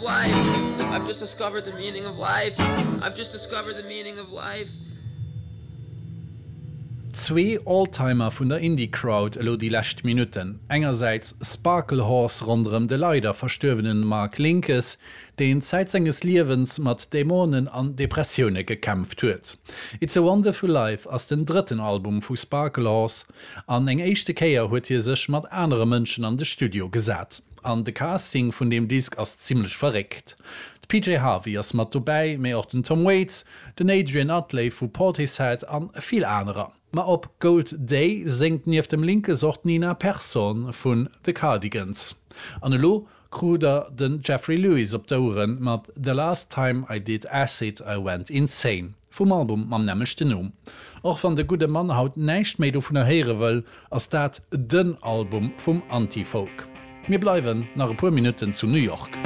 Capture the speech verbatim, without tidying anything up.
life. I've just discovered the meaning of life. I've just discovered the meaning of life. Zwee Oldtimer vun der Indie-Crowd elo déi lescht Minutten. Engersäits Sparklehorse ronderëm de leider verstuerwene Mark Linkous, deen Zäit senges Liewens mat Dämonen an Depressioune gekämpft huet. It's a Wonderful Life ass den drëtten Album vu Sparklehorse an eng éischte Kéier huet hie sech mat anere Mënschen an de Studio gesat. An de Casting vun deem Disk ass zimmlech verréckt. D'P J Harvey ass mat dobäi, mee och den Tom Waits, den Adrian Utley vu Portishead an vill anerer. Ma op Gold Day séngt nieft dem Linkous och d'Nina Persson vun The Cardigans. An elo krut der den Jeffrey Lewis op d'Oueren mat The Last Time I Did Acid I Went Insane vum Album mam nämmlechten Numm. Och wann de gudde Mann haut näischt méi dovunner héiere wëll, ass dat den Album vum Anti-Folk. Mir bleiwen nach e puer Minutten zu New York.